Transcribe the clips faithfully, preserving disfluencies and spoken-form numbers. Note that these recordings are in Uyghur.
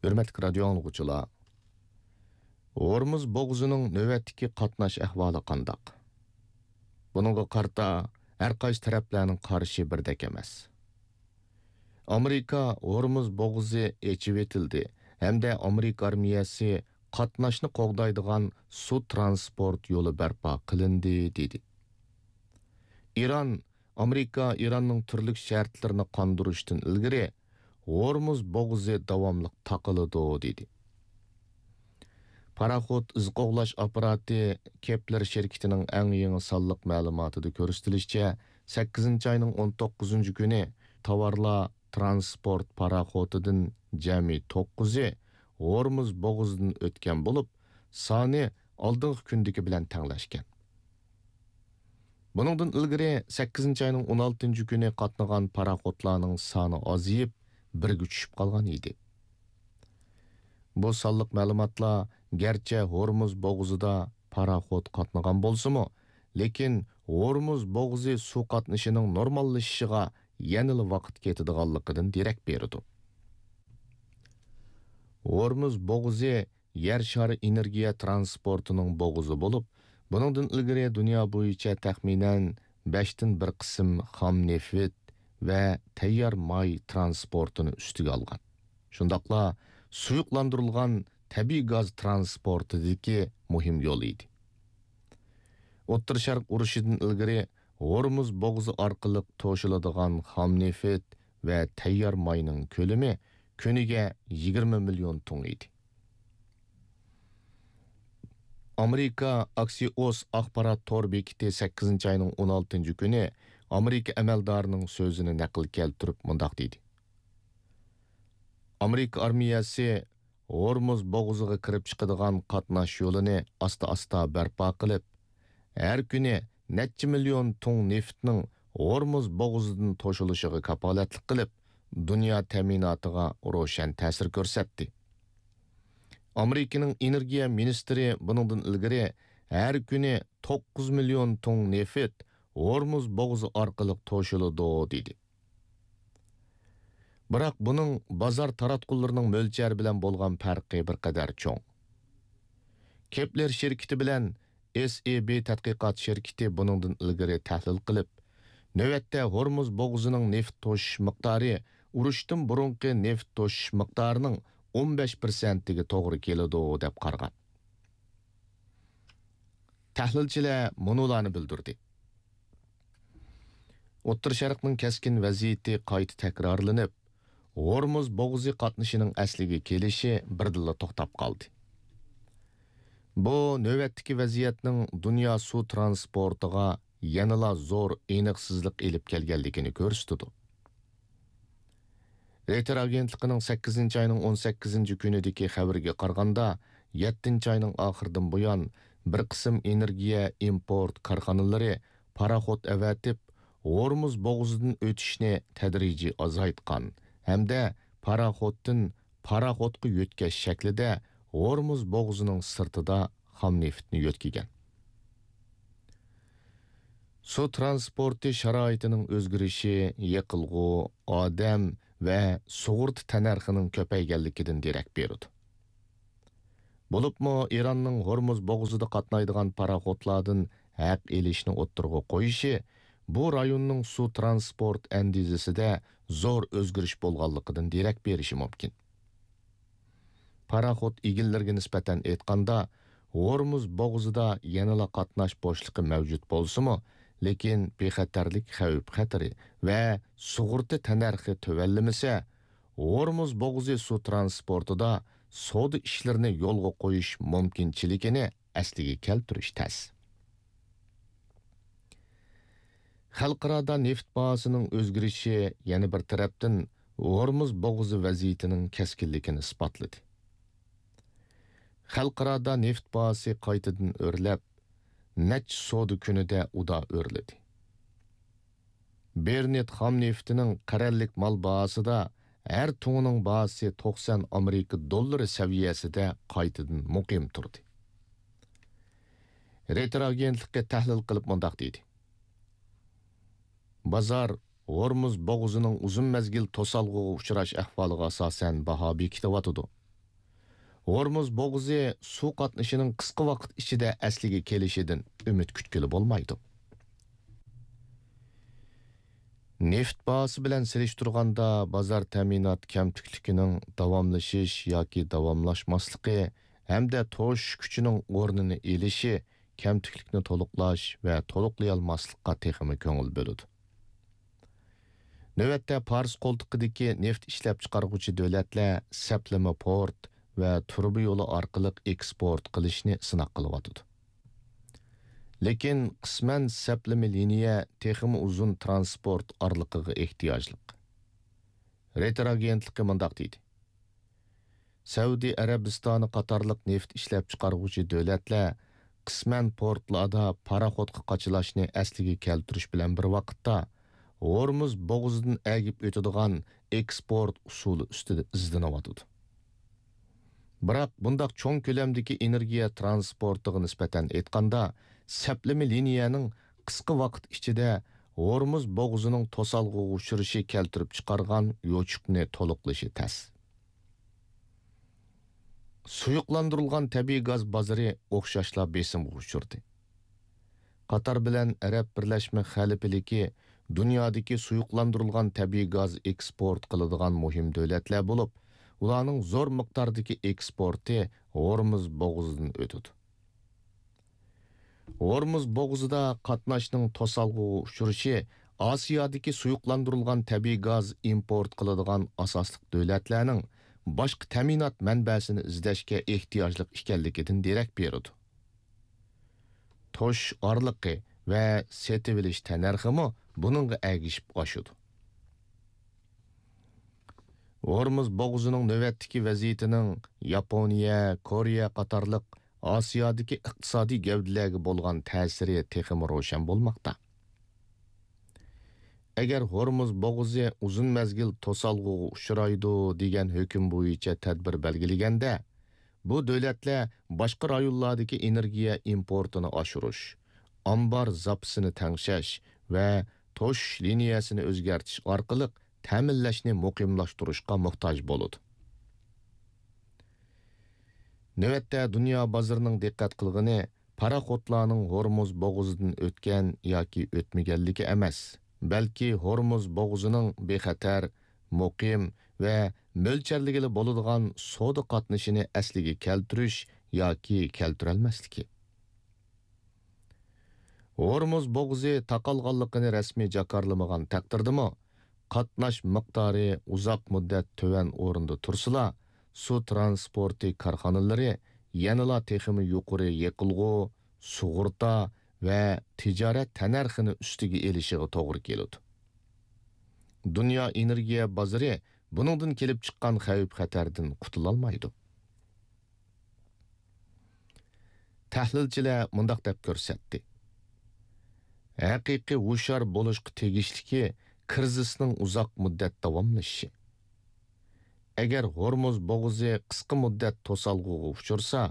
ھۆرمەتلىك رادىيو ئاڭلىغۇچىلار، ھورمۇز بوغۇزىنىڭ نۆۋەتتىكى قاتناش ئەھۋالى قانداق؟ بۇنىڭغا قارىتا ھەر قايسى تەرەپلەرنىڭ قارىشى بىردەك ئەمەس. ئامېرىكا ھورمۇز بوغۇزى ئېچىۋېتىلدى ھەمدە ئامېرىكا ئارمىيەسى قاتناشنى قوغدايدىغان سۇ ترانسپورت يولى بەرپا قىلىندى، دېدى. ئىران، ئامېرىكا ئىراننىڭ تۈرلۈك شەرتلىرىنى قاندۇرۇشتىن ئىلگىرى ھورمۇز بوغۇزى داۋاملىق تاقىلىدۇ، دېدى. پاراخوت ئىز قوغلاش ئاپپاراتى كېپلېر شىركىتىنىڭ ئەڭ يېڭى سانلىق مەلۇماتىدا كۆرسىتىلىشىچە، سەككىزىنچى ئاينىڭ ئون توققۇزىنچى كۈنى تاۋارلار ترانسپورت پاراخوتىدىن جەمئىي توققۇزى ھورمۇز بوغۇزىدىن ئۆتكەن بولۇپ، سانى ئالدىنقى كۈندىكى بىلەن تەڭلەشكەن. بۇنىڭدىن ئىلگىرى سەككىزىنچى ئاينىڭ ئون ئالتىنچى كۈنى قاتنىغان پاراخوتلارنىڭ سانى ئازىيىپ، بىرگە چۈشۈپ قالغان ئىدى. بۇ سانلىق مەلۇماتلار گەرچە ھورمۇز بوغۇزىدا پاراخوت قاتنىغان بولسىمۇ، لېكىن ھورمۇز بوغۇزى سۇ قاتنىشىنىڭ نورماللىشىشىغا يەنىلا ۋاقىت كېتىدىغانلىقىدىن دېرەك بېرىدۇ. ھورمۇز بوغۇزى يەر شارى ئېنېرگىيە ترانسپورتىنىڭ بوغۇزى بولۇپ، بۇنىڭدىن ئىلگىرى دۇنيا بويىچە تەخمىنەن بەشتىن بىر قىسىم خام نېفىت ۋە تەييار ماي ترانسپورتىنى ئۈستىگە ئالغان. شۇنداقلا سۇيۇقلاندۇرۇلغان تەبىئىي گاز ترانسپورتىدىكى مۇھىم يول ئىدى. ئوتتۇرا شەرق ئۇرۇشىدىن ئىلگىرى ھورمۇز بوغۇزى ئارقىلىق توشۇلىدىغان خام نېفىت ۋە تەييار ماينىڭ كۆلىمى كۈنىگە يىگىرمە مىليون تۇڭ ئىدى. ئامېرىكا ئاكسىئوس ئاخبارات تور بېكىتى سەككىزىنچى ئاينىڭ ئون ئالتىنچى كۈنى ئامېرىكا ئەمەلدارىنىڭ سۆزىنى نەقىل كەلتۈرۈپ مۇنداق دېدى: ئامېرىكا ئارمىيەسى ھورمۇز بوغۇزىغا كىرىپ چىقىدىغان قاتناش يولىنى ئاستا-ئاستا بەرپا قىلىپ، ھەر كۈنى نەچچە مىليون تۇڭ نېفىتنىڭ ھورمۇز بوغۇزىدىن توشۇلۇشىغا كاپالەتلىك قىلىپ، دۇنيا تەمىناتىغا روشەن تەسىر كۆرسەتتى. ئامېرىكىنىڭ ئېنېرگىيە مىنىستىرى بۇنىڭدىن ئىلگىرى ھەر كۈنى توققۇز مىليون تۇڭ نېفىت ھورمۇز بوغۇزى ئارقىلىق توشۇلىدۇ، دېدى. بىراق بۇنىڭ بازار تاراتقۇلىرىنىڭ مۆلچەرى بىلەن بولغان پەرقى بىر قەدەر چوڭ. كېپلېر شىركىتى بىلەن ئېس ئى بى تەتقىقات شىركىتى بۇنىڭدىن ئىلگىرى تەھلىل قىلىپ، نۆۋەتتە ھورمۇز بوغۇزىنىڭ نېفىت توشۇش مىقدارى ئۇرۇشتىن بۇرۇنقى نېفىت توشۇش مىقدارىنىڭ ئون بەش پىرسەنتىگە توغرا كېلىدۇ، دەپ قارىغان. تەھلىلچىلەر مۇنۇلارنى بىلدۈردى. ئوتتۇرا شەرقنىڭ كەسكىن ۋەزىيىتى قايتا تەكرارلىنىپ، ھورمۇز بوغۇزى قاتنىشىنىڭ ئەسلىگە كېلىشى بىردىنلا توختاپ قالدى. بۇ نۆۋەتتىكى ۋەزىيەتنىڭ دۇنيا سۇ ترانسپورتىغا يەنىلا زور ئېنىقسىزلىق ئېلىپ كەلگەنلىكىنى كۆرسىتىدۇ. رېيتېر ئاگېنتلىقىنىڭ سەككىزىنچى ئاينىڭ ئون سەككىزىنچى كۈنىدىكى خەۋىرىگە قارىغاندا، يەتتىنچى ئاينىڭ ئاخىرىدىن بۇيان بىر قىسىم ئېنېرگىيە ئىمپورت كارخانىلىرى پاراخوت ئەۋەتىپ، ھورمۇز بوغۇزىدىن ئۆتۈشنى تەدرىجىي ئازايتقان ھەمدە پاراخوتتىن پاراخوتقا يۆتكەش شەكلىدە ھورمۇز بوغۇزىنىڭ سىرتىدا خام نېفىتنى يۆتكىگەن. سۇ ترانسپورتى شارائىتىنىڭ ئۆزگىرىشى يېقىلغۇ، ئادەم ۋە سۇغۇرتا تەننەرخىنىڭ كۆپەيگەنلىكىدىن دېرەك بېرىدۇ. بولۇپمۇ ئىراننىڭ ھورمۇز بوغۇزىدا قاتنايدىغان پاراخوتلاردىن ھەق ئېلىشنى ئوتتۇرىغا قويۇشى بۇ رايوننىڭ سۇ ترانسپورت ئەندىزىسىدە زور ئۆزگىرىش بولغانلىقىدىن دېرەك بېرىشى مۇمكىن. پاراخوت ئىگىلىرىگە نىسبەتەن ئېيتقاندا، ھورمۇز بوغۇزىدا يەنىلا قاتناش بوشلۇقى مەۋجۇت بولسىمۇ، لېكىن بىخەتەرلىك خەۋپ-خەتىرى ۋە سۇغۇرتا تەننەرخى تۆۋەنلىمىسە، ھورمۇز بوغۇزى سۇ ترانسپورتىدا سودا ئىشلىرىنى يولغا قويۇش مۇمكىنچىلىكىنى ئەسلىگە كەلتۈرۈش تەس. خەلقئارادا نېفىت باھاسىنىڭ ئۆزگىرىشى يەنە بىر تەرەپتىن ھورمۇز بوغۇزى ۋەزىيىتىنىڭ كەسكىنلىكىنى ئىسپاتلىدى. خەلقئارادا نېفىت باھاسى قايتىدىن ئۆرلەپ، نەچچە سودا كۈنىدە ئۇدا ئۆرلىدى. بېرنت خام نېفىتىنىڭ قەرەللىك مال باھاسىدا ھەر تۇڭىنىڭ باھاسى توقسان ئامېرىكا دوللىرى سەۋىيەسىدە قايتىدىن مۇقىم تۇردى. رېيتېر ئاگېنتلىقى تەھلىل قىلىپ مۇنداق دېدى: بازار ھورمۇز بوغۇزىنىڭ ئۇزۇن مەزگىل توسالغۇغا ئۇچراش ئەھۋالىغا ئاساسەن باھا بېكىتىۋاتىدۇ. ھورمۇز بوغۇزى سۇ قاتنىشىنىڭ قىسقا ۋاقىت ئىچىدە ئەسلىگە كېلىشىدىن ئۈمىد كۈتكىلى بولمايدۇ. نېفىت باھاسى بىلەن سېلىشتۇرغاندا، بازار تەمىنات كەمتۈكلۈكىنىڭ داۋاملىشىش ياكى داۋاملاشماسلىقى ھەمدە توشۇش كۈچىنىڭ ئورنىنى ئېلىشى كەمتۈكلۈكنى تولۇقلاش ۋە تولۇقلىيالماسلىققا تېخىمۇ كۆڭۈل بۆلىدۇ. نۆۋەتتە پارس قولتۇقىدىكى نېفىت ئىشلەپچىقارغۇچى دۆلەتلەر سەپلىمە پورت ۋە تۇرۇبا يولى ئارقىلىق ئېكسپورت قىلىشنى سىناق قىلىۋاتىدۇ. لېكىن قىسمەن سەپلىمە لىنىيە تېخىمۇ ئۇزۇن ترانسپورت ئارىلىقىغا ئېھتىياجلىق. رېيتېر ئاگېنتلىقى مۇنداق دېدى: سەئۇدى ئەرەبىستانى قاتارلىق نېفىت ئىشلەپچىقارغۇچى دۆلەتلەر قىسمەن پورتلاردا پاراخوتقا قاچىلاشنى ئەسلىگە كەلتۈرۈش بىلەن بىر ۋاقىتتا، ھورمۇز بوغۇزىدىن ئەگىپ ئۆتىدىغان ئېكسپورت ئۇسۇلى ئۈستىدە ئىزدىنىۋاتىدۇ. بىراق، بۇنداق چوڭ كۆلەمدىكى ئېنېرگىيە ترانسپورتىغا نىسبەتەن ئېيتقاندا، سەپلىمە لىنىيەنىڭ قىسقا ۋاقىت ئىچىدە ھورمۇز بوغۇزىنىڭ توسالغۇغا ئۇچرىشى كەلتۈرۈپ چىقارغان يوچۇقنى تولۇقلىشى تەس. سۇيۇقلاندۇرۇلغان تەبىئىي گاز بازىرى ئوخشاشلا بېسىمغا ئۇچرىدى. قاتار بىلەن ئەرەب بىرلەشمە خەلىپىلىكى دۇنيادىكى سۇيۇقلاندۇرۇلغان تەبىئىي گاز ئېكسپورت قىلىدىغان مۇھىم دۆلەتلەر بولۇپ، ئۇلارنىڭ زور مىقداردىكى ئېكسپورتى ھورمۇز بوغۇزىدىن ئۆتىدۇ. ھورمۇز بوغۇزىدا قاتناشنىڭ توسالغۇغا ئۇچرىشى ئاسىيادىكى سۇيۇقلاندۇرۇلغان تەبىئىي گاز ئىمپورت قىلىدىغان ئاساسلىق دۆلەتلەرنىڭ باشقا تەمىنات مەنبەسىنى ئىزدەشكە ئېھتىياجلىق ئىكەنلىكىدىن دېرەك بېرىدۇ. توشۇش ئارىلىقى ۋە سېتىۋېلىش تەننەرخىمۇ بۇنىڭغا ئەگىشىپ ئاشىدۇ. ھورمۇز بوغۇزىنىڭ نۆۋەتتىكى ۋەزىيىتىنىڭ ياپونىيە، كورېيە قاتارلىق ئاسىيادىكى ئىقتىسادىي گەۋدىلەرگە بولغان تەسىرى تېخىمۇ روشەن بولماقتا. ئەگەر ھورمۇز بوغۇزى ئۇزۇن مەزگىل توسالغۇغا ئۇچرايدۇ دېگەن ھۆكۈم بويىچە تەدبىر بەلگىلىگەندە، بۇ دۆلەتلەر باشقا رايونلاردىكى ئېنېرگىيە ئىمپورتىنى ئاشۇرۇش، ئامبار زاپىسىنى تەڭشەش ۋە توشۇش لىنىيەسىنى ئۆزگەرتىش ئارقىلىق تەمىنلەشنى مۇقىملاشتۇرۇشقا موھتاج بولىدۇ. نۆۋەتتە دۇنيا بازىرىنىڭ دىققەت قىلغىنى پاراخوتلارنىڭ ھورمۇز بوغۇزىدىن ئۆتكەن ياكى ئۆتمىگەنلىكى ئەمەس، بەلكى ھورمۇز بوغۇزىنىڭ بىخەتەر، مۇقىم ۋە مۆلچەرلىگىلى بولىدىغان سودا قاتنىشىنى ئەسلىگە كەلتۈرۈش ياكى كەلتۈرەلمەسلىكى. ھورمۇز بوغۇزى تاقالغانلىقىنى رەسمىي جاكارلىمىغان تەقدىردىمۇ، قاتناش مىقدارى ئۇزاق مۇددەت تۆۋەن ئورۇندا تۇرسىلا، سۇ ترانسپورتى كارخانىلىرى يەنىلا تېخىمۇ يۇقىرى يېقىلغۇ، سۇغۇرتا ۋە تىجارەت تەننەرخىنى ئۈستىگە ئېلىشىغا توغرا كېلىدۇ. دۇنيا ئېنېرگىيە بازىرى بۇنىڭدىن كېلىپ چىققان خەۋپ-خەتەردىن قۇتۇلالمايدۇ. تەھلىلچىلەر مۇنداق دەپ كۆرسەتتى: ھەقىقىي ھوشيار بولۇشقا تېگىشلىكى كىرىزىسنىڭ ئۇزاق مۇددەت داۋاملىشىشى. ئەگەر ھورمۇز بوغۇزى قىسقا مۇددەت توسالغۇغا ئۇچرىسا،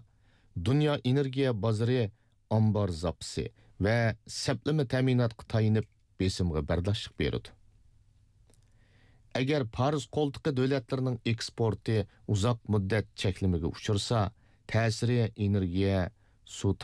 دۇنيا ئېنېرگىيە بازىرى ئامبار زاپىسى ۋە سەپلىمە تەمىناتقا تايىنىپ بېسىمغا بەرداشلىق بېرىدۇ. ئەگەر پارس قولتۇقى دۆلەتلىرىنىڭ ئېكسپورتى ئۇزاق مۇددەت چەكلىمىگە ئۇچرىسا، تەسىرى ئېنېرگىيە، سۇ